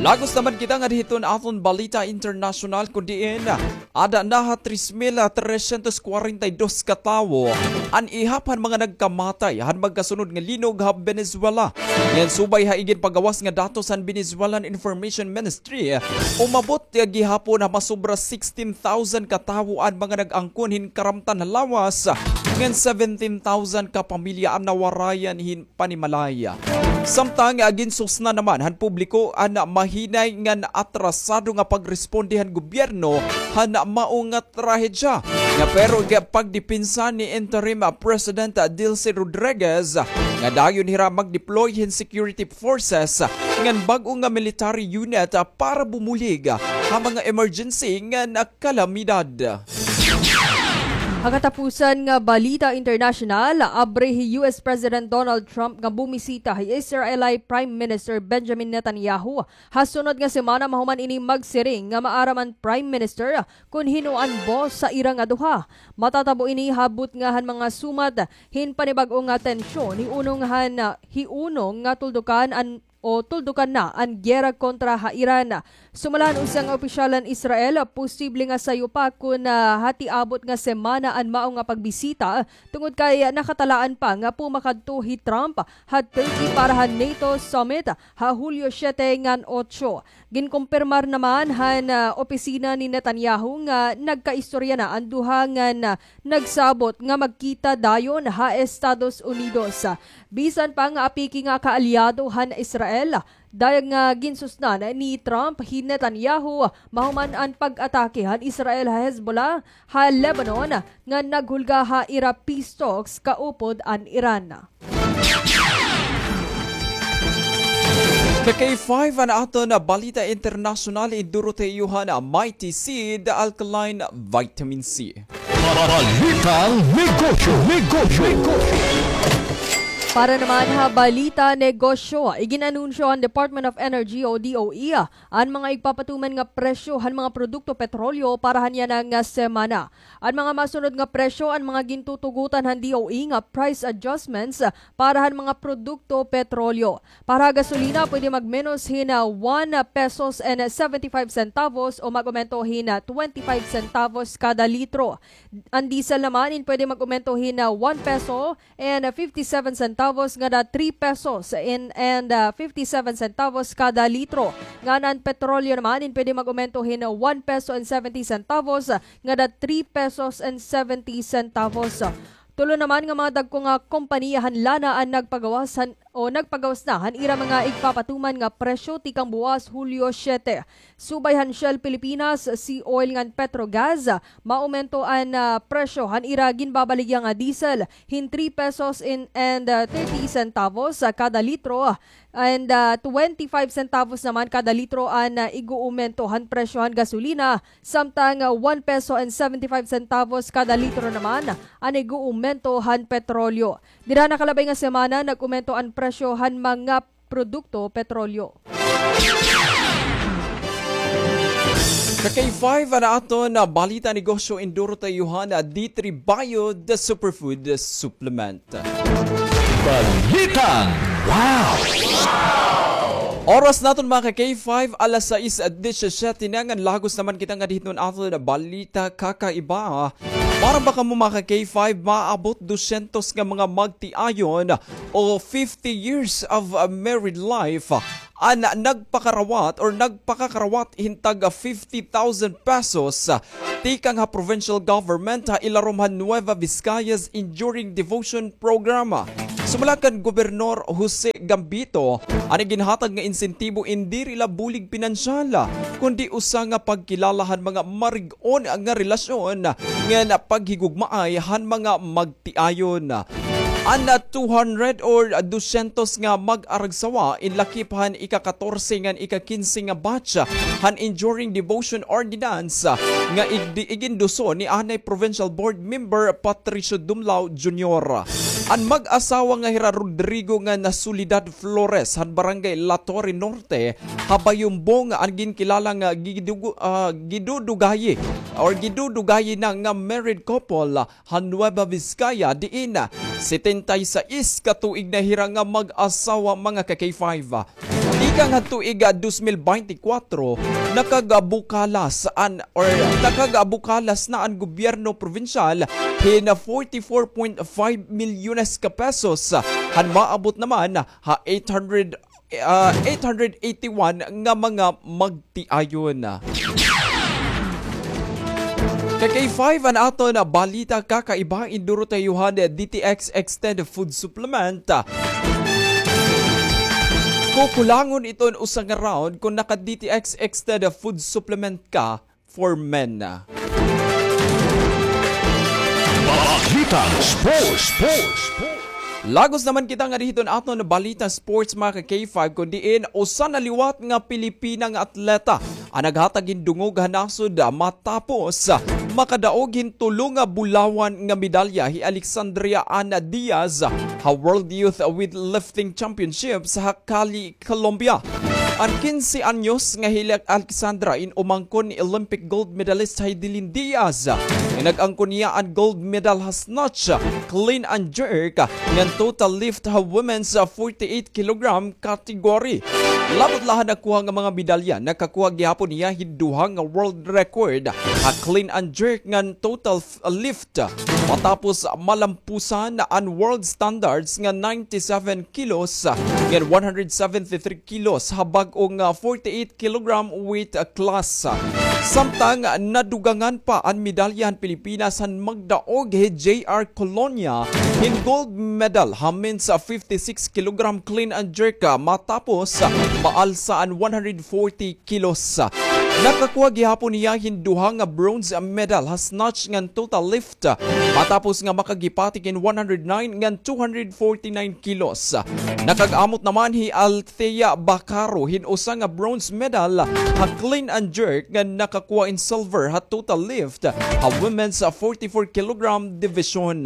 Lagos naman kita ngadto hiton aton balita internasyonal, kun diin ada na ha tres mil tresyentos kwarenta y dos ka tawo an ihap han mga nagkamatay han magkasunod nga linog ha Venezuela. Ngan subay ha iginpagawas nga datos han Venezuelan Information Ministry, umabot gihapon ha masobra sixteen thousand ka tawo an mga nag-angkon hin karamtan ha lawas, ngan seventeen thousand ka pamilya an nawarayan hin panimalay. Samtang, ah, ginsusnan naman han publiko an mahinay ngan atrasado nga pagresponde han gobyerno han mao nga trahedya. Nga pero gipagdepensa ni Interim, ah, President, ah, Delcy Rodriguez nga dayon hira mag-deploy hin security forces ngan bag-o nga military unit, ah, para bumulig, ah, ha mga emergency ngan, ah, kalamidad. Ha katapusan nga balita internasyonal, abre hi U S President Donald Trump nga bumisita hi Israeli Prime Minister Benjamin Netanyahu ha sunod nga semana mahuman ini magsiring nga maaram an Prime Minister kun hin-o an boss sa ira nga duha. Matatabo ini ha butnga han mga sumat hin panibag-o nga tensyon, hiunong han, hiunong nga tuldukan an o tuldukan na an giyera kontra ha Iran. Sumala han usa nga opisyal han Israel, posible nga sayo pa kon, ah, ha tiabot nga semana an mao nga pagbisita, tungod kay nakatalaan pa nga pumakadto hi Trump ha Turkey para ha NATO summit ha Hulyo siyete ngan otso. Ginkumpirmar naman han, ah, opisina ni Netanyahu nga nagkaistorya na an duha ngan, ah, nagsabot nga magkita dayon ha Estados Unidos. Bisan pa nga apiki nga kaalyado han Israel, dayag nga ginsusnan ni Trump hi Netanyahu mahuman an pag-atake han Israel ha Hezbollah ha Lebanon nga naghulga ha ira peace talks kaupod an Iran. Ka K five, an aton balita internasyonal, iduro ta iyo han Mighty Seed Alkaline Vitamin C. Balitang negosyo, negosyo, negosyo. Para naman ha balita negosyo, igin-anunsyo han Department of Energy o D O E an mga igpapatuman nga presyo han mga produkto petrolyo para han yana nga semana. An mga masunod nga presyo an mga gintutugotan han D O E nga price adjustments para han mga produkto petrolyo. Para ha gasolina, pwede magmenos hin, ah, one pesos and seventy-five centavos o mag-umento hin, ah, twenty-five centavos kada litro. An diesel naman in pwede mag-umento hin, ah, one peso and fifty-seven centavos ngada three pesos in, and, ah, fifty-seven centavos kada litro. Ngan an petrolyo naman in pwede mag-umento hin one peso and seventy centavos ngada three pesos and seventy centavos. Tulo naman nga mga dagko nga kompanya han lana an nagpagawas han o nagpagawas na han ira mga igpapatuman nga presyo tikang buwas Hulyo siyete. Subay han Shell Pilipinas, Sea Oil ngan Petrogas, maumento an, ah, presyo han ira ginbabaligya nga diesel hin three pesos in, and, ah, thirty centavos, ah, kada litro, and, ah, twenty-five centavos naman kada litro an, ah, ig-uumento han presyo han gasolina, samtang, ah, one peso and seventy-five centavos kada litro naman an ig-uumento han petrolyo. Dida nakalabay nga semana, nag-umento an presyo han mga produkto petrolyo. Ka K five, an aton balita negosyo, induro ta iyo han D three Bio, the superfood supplement. Balitang Wow! Oras naton, mga ka K five, alas sais disisyete na, ngan lagos naman kita nga dihit han aton balita kakaiba. Para ba kamo, mga ka K five, maabot dusyentos nga mga magtiayon o fifty years of, uh, married life, an nagpakarawat or nagpakakarawat hin tag fifty thousand pesos, uh, tikang ha provincial government ha ilarom han Nueva Vizcaya's Enduring Devotion Program. Sumala kan Gobernador Jose Gambito, an ginhatag nga insentibo in diri la bulig pinansyal, kundi usa nga pagkilala han mga marig-on nga relasyon ngan paghigugmaay han mga magtiayon. An two hundred or dusyentos nga mag-aragsawa in lakip han ika-katorse ngan ika-kinse nga batch han Enduring Devotion Ordinance nga ig-, iginduso ni anay Provincial Board Member Patricio Dumlao Junior. An mag-asawa nga hira Rodrigo ngan Soledad Flores han Barangay La Torre Norte ha Bayumbong an ginkilala nga gidugu-, ah, gidudugayi or gidudugayi na nga married couple ha Nueva Vizcaya, diin setenta y seis ka tuig na hira nga mag-asawa, mga ka K five. Tikang ha tuig, ah, dos mil beintikwatro, nakagabukalas an, or nakagabukalas na an gobyerno probinsyal hin forty-four point five milyones ka pesos, han maabot naman ha eight hundred, ah, eight hundred eighty-one nga mga magtiayon. Ka K five, an aton balita kakaiba, induro ta iyo han D T X Extended Food Supplement. Kukulangon iton usa nga round kon naka-D T X Extended Food Supplement ka for men. Balitang Sports. Lagos naman kita nga dihit han aton balita sports, mga ka K five, kon diin usa na liwat nga Pilipina nga atleta an naghatag hin dungog ha nasod matapos makadaog hin tulo nga bulawan nga medalya hi Alexandria Ana Diaz ha World Youth Weightlifting Championships ha Cali, Colombia. An kinse anyos nga hi Alexandra in umangkon ni Olympic gold medalist Heidelin Diaz, nga nag-angkon niya an gold medal ha snatch, clean and jerk, ngan total lift ha women's forty-eight kilogram category. Labot la han nakuha nga mga medalya, nakakuha gihapon niya hin duha nga world record ha clean and jerk ngan total f-, lift. Matapos malampusan an world standards nga ninety-seven kilos ngan one hundred seventy-three kilos ha bag-o nga forty-eight kilogram weight class. Samtang nadugangan pa an medalya han Pilipinas han magdaog hi J R Colonia hin gold medal ha men's fifty-six kilogram clean and jerk, matapos maalsa an one hundred forty kilos. Nakakuha gihapon hiya hin duha nga bronze medal ha snatch ngan total lift, matapos nga makaghipatik hin one hundred nine ngan two hundred forty-nine kilos. Nakag-amot naman hi Althea Bacaro hin usa nga bronze medal ha clean and jerk ngan nakakuha hin silver ha total lift ha women's forty-four kilogram division.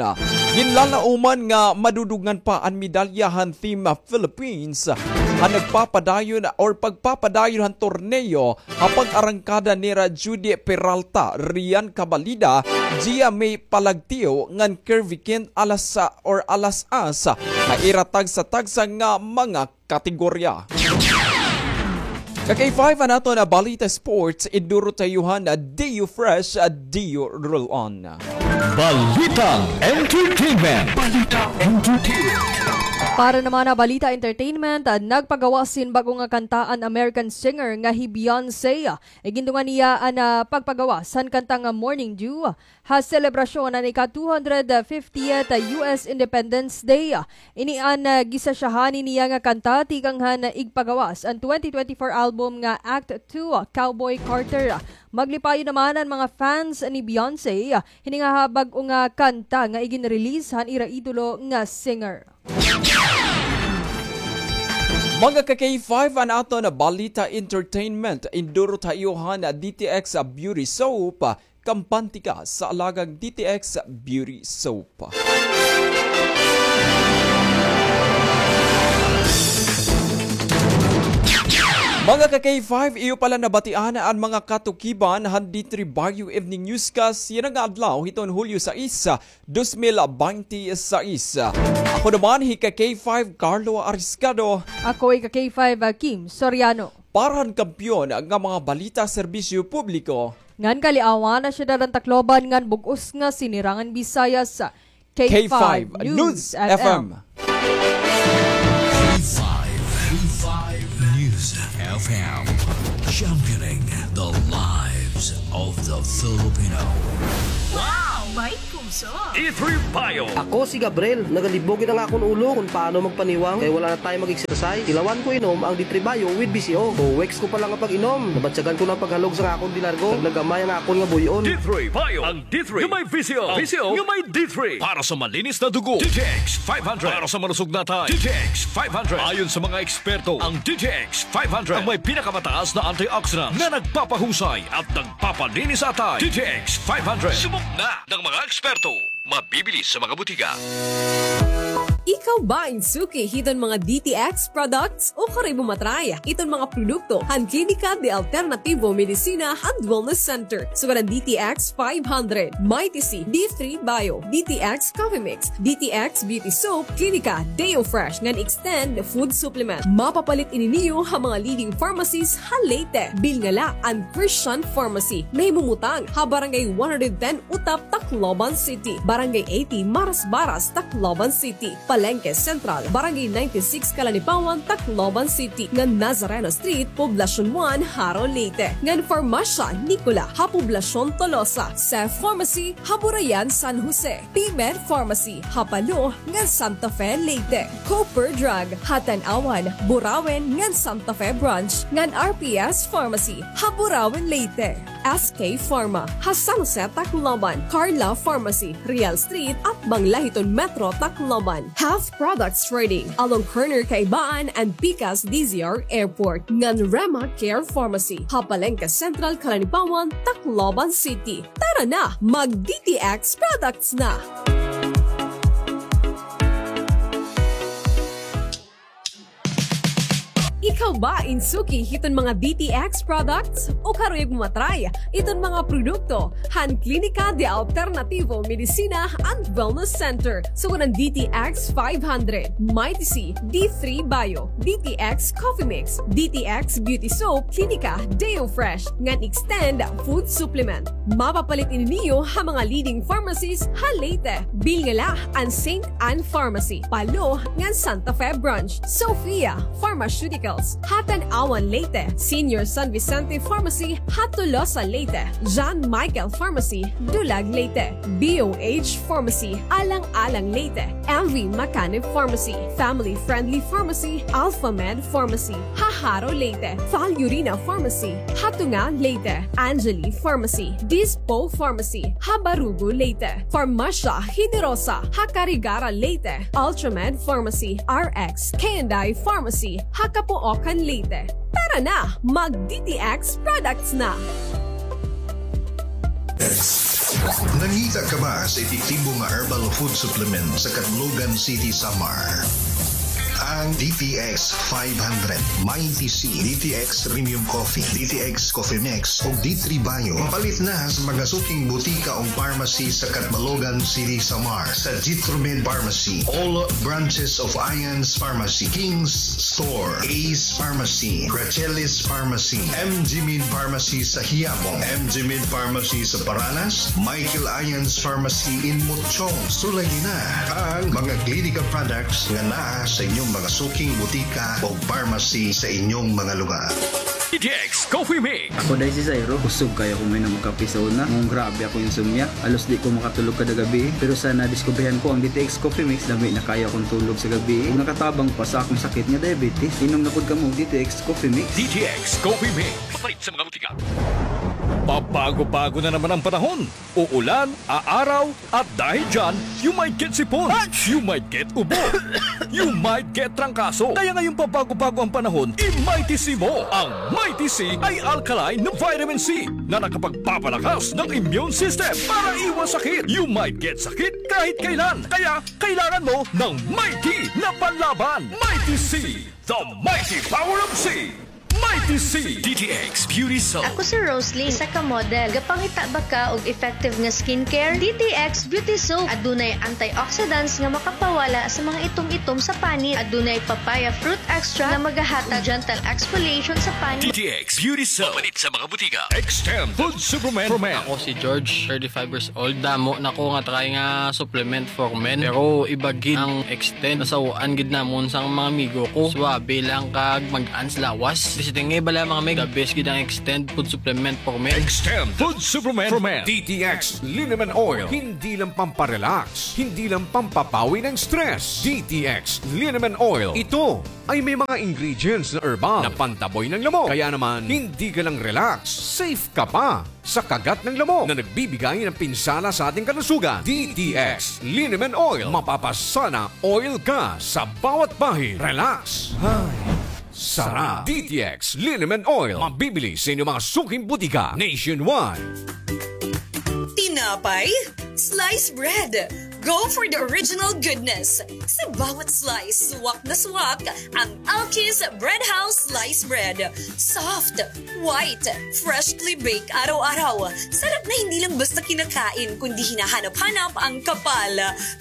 Ginlalauman nga madudugangan pa an medalya han Team Philippines ha nagpapadayon or pagpapadayon han torneo ha pag-arangkada nira Judy Peralta, Rian Cabalida, Gia May Palagtio, ngan Kirby Kent Alasa or Alas-as ha ira tagsa-tagsa nga mga kategorya. Ka K five, an aton balita sports, iduro ta iyo han Dio Fresh, Dio Roll On. Balitang entertainment. Balitang entertainment. Para naman ha balita entertainment, ah, nagpagawas hin bag-o nga kanta an American singer nga hi Beyonce. Igindungan niya an, ah, pagpagawas han kanta nga Morning Dew ha selebrasyon han ika two hundred fiftieth U S Independence Day. Ini an, ah, gisasyahan niya nga kanta tikang han igpagawas an twenty twenty-four album nga Act two, Cowboy Carter. Maglipayon naman an mga fans ni Beyonce hini nga bag-o nga kanta nga iginrelease han ira idolo nga singer. Mga ka-K five, an aton balita entertainment, indurot ha iyo han D T X Beauty Soap, kampante ka sa alagang D T X Beauty Soap. Mga ka-K five, iyo pala nabatian an mga katukiban han D three Bayo Evening Newscast yana nga adlaw hiton Hulyo sais, dos mil binte sais. Ako naman hi ka-K five Carlo Ariscado. Ako hi ka-K five, ah, Kim Soriano. Para han kampiyon nga mga balita, serbisyo publiko ngan kaliawan han syudad han Tacloban ngan bug-os nga sinirangan Bisaya sa K five News F M. K five News F M. Championing the lives of the Filipino. Wow! May puso! D three Bio. Ako si Gabriel. Nagalibog gid an akon ulo kon paano magpaniwang kay wala na tayo mag-exercise. Tilawan ko inom ang D three Bio with B C O. Two weeks ko pa lang nga pag-inom, nabatyagan ko na an paghalog sa akon di largo. Naggamay ang akon nga buy-on. D three Bio. Ang D three nga may V C O. V C O nga may D three. Para sa malinis na dugo, D T X five hundred. Para sa malusog na atay, D T X five hundred. Ayon sa mga eksperto, ang D T X five hundred ang may pinakamataas na antioxidant na nagpapahusay at nagpapalinis sa atay. D T X five hundred. Subok na ng mga eksperto. Mabibili sa mga butika. Ikaw ba in suki hiton mga D T X products? Ukari mo matry iton mga produkto han Klinika de Alternativo Medicina and Wellness Center. Sugad an D T X five hundred, Mighty C, D three Bio, D T X Coffee Mix, D T X Beauty Soap, Klinika Deo Fresh, ngan Extend Food Supplement. Mapapalit ini niyo ha mga leading pharmacies ha Leyte. Bilin la an Christian Pharmacy. Nahimumutang ha Barangay one hundred ten Utap, Tacloban City, Barangay eighty Marasbaras, Tacloban City, Palenque Central, Barangay ninety-six Calanipawan, Tacloban City, ngan Nazareno Street, Poblacion one, Jaro, Leyte, ngan Farmasya Nicola ha Poblacion Tolosa, Cef Pharmacy ha Burayan, San Jose, P-Med Pharmacy ha Palo ngan Santa Fe, Leyte, Cooper Drug ha Tanauan, Burauen ngan Santa Fe Branch, ngan R P S Pharmacy ha Burauen, Leyte. S K Pharma ha San Jose, Tacloban, Carla Pharmacy, Real Street, atbang la hiton Metro Tacloban, Health Products Trading along corner Kaibaan and Pikas D Z R Airport, ngan Rema Care Pharmacy ha Palenque Central, Calanipawan, Tacloban City. Tara na, mag-D T X products na! Ikaw ba in suki hiton mga D T X products? Ukari mo matry iton mga produkto han Klinika de Alternativo Medicina and Wellness Center. Sugad an D T X five hundred, Mighty C, D three Bio, D T X Coffee Mix, D T X Beauty Soap, Klinika Deo Fresh, ngan Extend Food Supplement. Mapapalit ini niyo ha mga leading pharmacies ha Leyte. Bilin la an Saint Ann Pharmacy, Palo, ngan Santa Fe Branch, Sophia Pharmaceuticals ha Tanauan, Leyte, Senior San Vicente Pharmacy ha Tolosa, Leyte, John Michael Pharmacy, Dulag, Leyte, B O H Pharmacy, Alang-alang, Leyte, M V Macanib Pharmacy, Family Friendly Pharmacy, Alpha Med Pharmacy ha Jaro, Leyte, Falurina Pharmacy ha Tunga, Leyte, Angeli Pharmacy, Dispo Pharmacy ha Barugo, Leyte, Farmasya Generosa ha Carigara, Leyte, Ultramed Pharmacy, R X K and I Pharmacy ha Capoocan, Leyte. Tara na, mag-D T X products na! Nangita ka ba sa epektibo nga herbal food supplement sa Catlogan City, Samar? Ang D T X five hundred, Mighty C, D T X Premium Coffee, D T X Coffee Mix, ug D three Bio. Mapalit na sa mga suking butika o pharmacy sa Catbalogan City, Samar, sa Jitromed Pharmacy, all branches of Ian's Pharmacy, King's Store, Ace Pharmacy, Gracelli's Pharmacy, M G Med Pharmacy sa Quiapo, M G Med Pharmacy sa Paranas, Michael Ian's Pharmacy in Mochong. Sulayi na ang mga Clinica products nga naa sa inyong mga suking butika o pharmacy sa inyong mga lugar. D T X Coffee Mix. Ako diay si Zairo. Kusog kaayo ako mainom og kape sa una. Nganong grabe akong insomnia. Halos di ko makatulog kada gabii. Pero sa nadiskubrihan ko ang D T X Coffee Mix, dami na kaayo akong tulog sa gabii. Ug nakatabang pa sa akong sakit nga diabetes. Inom na pod kamo og D T X Coffee Mix. D T X Coffee Mix. Mapalit sa mga butika. Pabago-bago na naman ang panahon. Uulan, aaraw, at dahil dyan, you might get sipon, you might get ubo, you might get trangkaso. Kaya ngayong pabago-bago ang panahon, i-Mighty C mo. Ang Mighty C ay alkaline na vitamin C na nakapagpapalakas ng immune system para iwas sakit. You might get sakit kahit kailan. Kaya kailangan mo ng Mighty na panlaban. Mighty C, the mighty power of C. Mighty C. D T X Beauty Soap. Ako si Rosalie, isa ka model. Gapangita ba ka og effective nga skincare? D T X Beauty Soap. Adunay antioxidants nga makapawala sa mga itom-itom sa panit. Adunay papaya fruit extract nga magahatag gentle exfoliation sa panit. D T X Beauty Soap. Mapalit sa mga butika. Extend Food Supplement for Men. Ako si George, thirty-five years old. Damo na ko nga try nga supplement for men. Pero iba gid ang Extend. Nasaw-an gid namon sang mga amigo ko. Suabe lang kag mag-an sa lawas. Basta nga bala, mga mig, the best gid ang Extend food supplement for men. Extend food supplement for men. D T X Liniment Oil. Hindi lang pamparelax, hindi lang pampapawi ng stress. D T X Liniment Oil. Ito ay may mga ingredients na herbal na pantaboy ng lamok. Kaya naman, hindi ka lang relax, safe ka pa sa kagat ng lamok na nagbibigay ng pinsala sa ating kalusugan. D T X Liniment Oil. Mapapasana oil ka sa bawat bahid. Relax. Ay, sarap. D T X Liniment Oil. Mabibili sa inyong mga suking butika nationwide. Tinapay? Slice bread. Go for the original goodness. Sa bawat slice, swak na swak ang Alki's Bread House Slice Bread. Soft, white, freshly baked araw-araw. Sarap na hindi lang basta kinakain, kundi hinahanap-hanap ang kapal.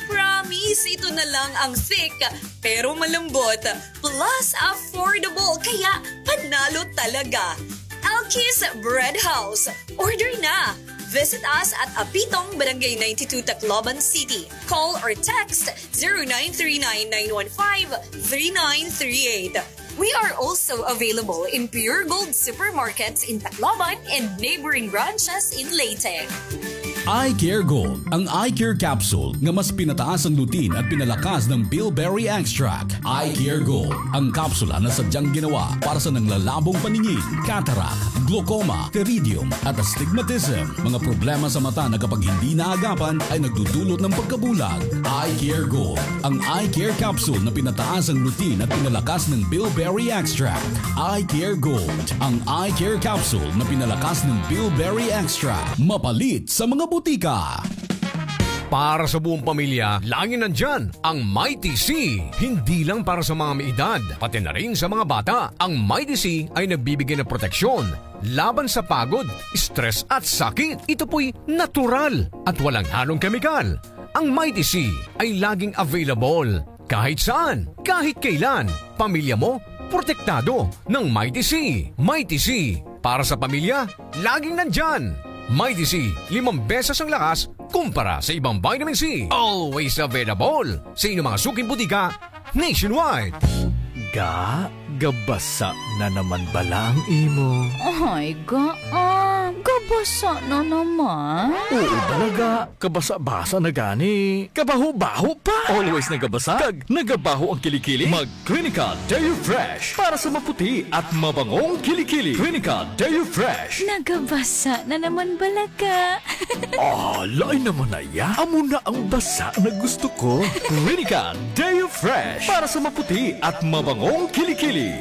Promise, ito na lang ang thick, pero malambot. Plus, affordable, kaya panalo talaga. Alki's Bread House. Order na! Visit us at Apitong, Barangay ninety-two, Tacloban City. Call or text zero nine three nine, nine one five, three nine three eight. We are also available in Pure Gold supermarkets in Tacloban and neighboring branches in Leyte. Eye Care Gold, ang eye care capsule nga mas pinataas ang lutein at pinalakas ng bilberry extract. Eye Care Gold, ang kapsula na sadyang ginawa para sa nanglalabong paningin, cataract, glaucoma, pteridium, at astigmatism. Mga problema sa mata na kapag hindi naagapan ay nagdudulot ng pagkabulag. Eye Care Gold, ang eye care capsule na pinataas ang lutein at pinalakas ng bilberry extract. Eye Care Gold, ang eye care capsule na pinalakas ng bilberry extract. Mapalit sa mga butika. Para sa buong pamilya, laging nandiyan ang Mighty C. Hindi lang para sa mga may edad, pati na rin sa mga bata. Ang Mighty C ay nagbibigay ng proteksyon laban sa pagod, stress at sakit. Ito po'y natural at walang halong kemikal. Ang Mighty C ay laging available kahit saan, kahit kailan. Pamilya mo, protektado ng Mighty C. Mighty C, para sa pamilya, laging nandyan. Mighty C, limang beses ang lakas kumpara sa ibang vitamin C. Always available sa inyong mga suking butika nationwide. Ga, gabasa na naman bala ang imo. Ay, Ga, ah, gabasa na naman. Oo bala, Ga. Kabasa-basa na gani. Kabaho-baho pa. Always nagabasa. Kag nagabaho ang kilikili. Mag Clinica Deo Fresh para sa maputi at mabangong kilikili. Clinica Deo Fresh. Nagabasa na naman bala, Ga. Ah, lain naman na iya. Amo na ang basa na gusto ko. Clinica Deo Fresh para sa maputi at mabangong kilikili.